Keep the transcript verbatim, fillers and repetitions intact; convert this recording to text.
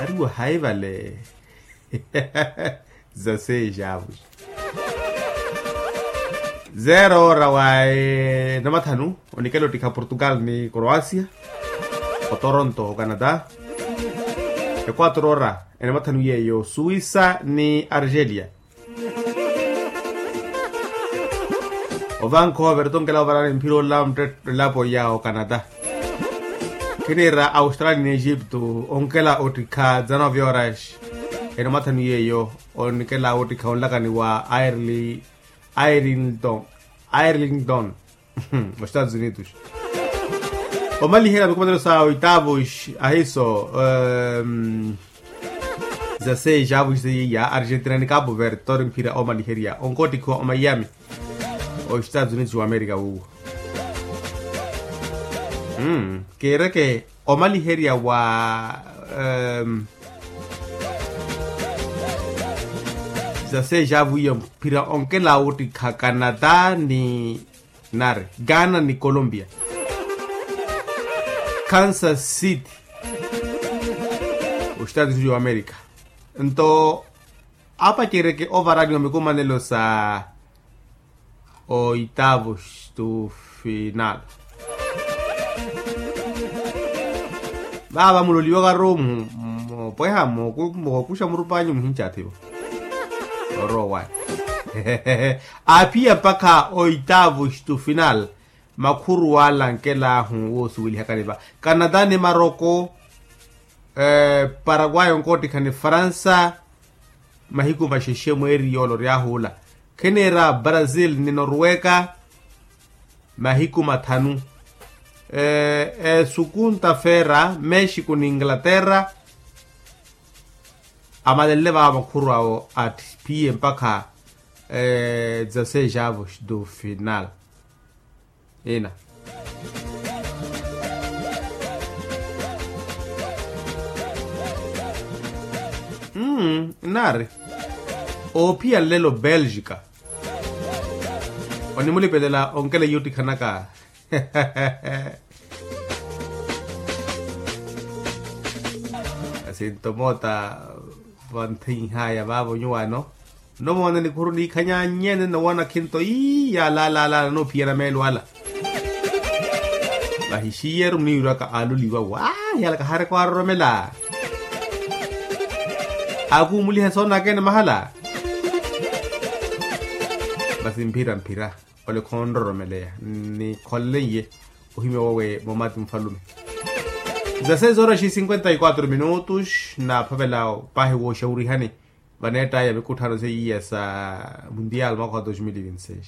Tuwa hayi vale. Za seis avos. Zero ora wa enamathanu onikela ottikha portugal ni croacia. Otoronto ocanada. Equatro ora enamathanu yeeyo suisa ni argelia. Ovancouver tonkela ovarani mphira ola mttetta elapo ya ocanada. Khinira australia ni egipto onkela ottikha dezanove horas. Enomathanu yeeyo onikela ottikha onlakani wa ireland. Ireland. Ireland. Ostados unidos. Omaliherya mikumanelo sa oitavos ahiso. Za seis avos seiya argentina ni capo verde tori mphira omaliherya onkottikhiwa omiami. Ostados unidos wa amerika wuwo. Kiireke omaliherya wa za seis avos iya mphira onkela ottikha canada ni nari ghana ni colombia. Kansas city. Ostados unidos wa amerika. Nto apacereke ovaraniwa mikumanelo sa oitavos tu final. Vaava muloliwaka ru mopweha mookuxa murupanyu muhincaathivo. Orowa. Aphiya mpakha oitavos tu final. Makhuru ala nkelaahu woosuwelihakani va canada ni maroko. Paraguay onkoottikha ni faransa. Mahiku maxexe mweeri yoolo oryahuula. Khenera brazil ni norweka. Mahiku mathanu. Esukunta feera mexico ni inglaterra. Amalenle vava makhuru awo atthipiye mpakha dezasseis avos do final. Ina. Nari oophiya nlelo belgica. Onimulipelela onkela iyottikhanaka. Asinto moota vanthinhaya vaavo nyuwaano. Nnomoona nikhuru niikhanyanyene nnowoona khinto ii yaalaalaalala noophiyana meelo ala. Vahixiyeru muniirwaka aloliwa waahi ala kahaareke waaroromela. Akuumuliha soonakene mahala. Masi mphira mphira ole khonroromeleya. Nikholele iye ohimya wawe momati mufalume. Dezasseis horas e cinquenta e quatro minutos. Naaphavela paahi wooxawurihani vaneettaya mikutthaano seiya sa mundial mwaka wa dos mil e vinte seis.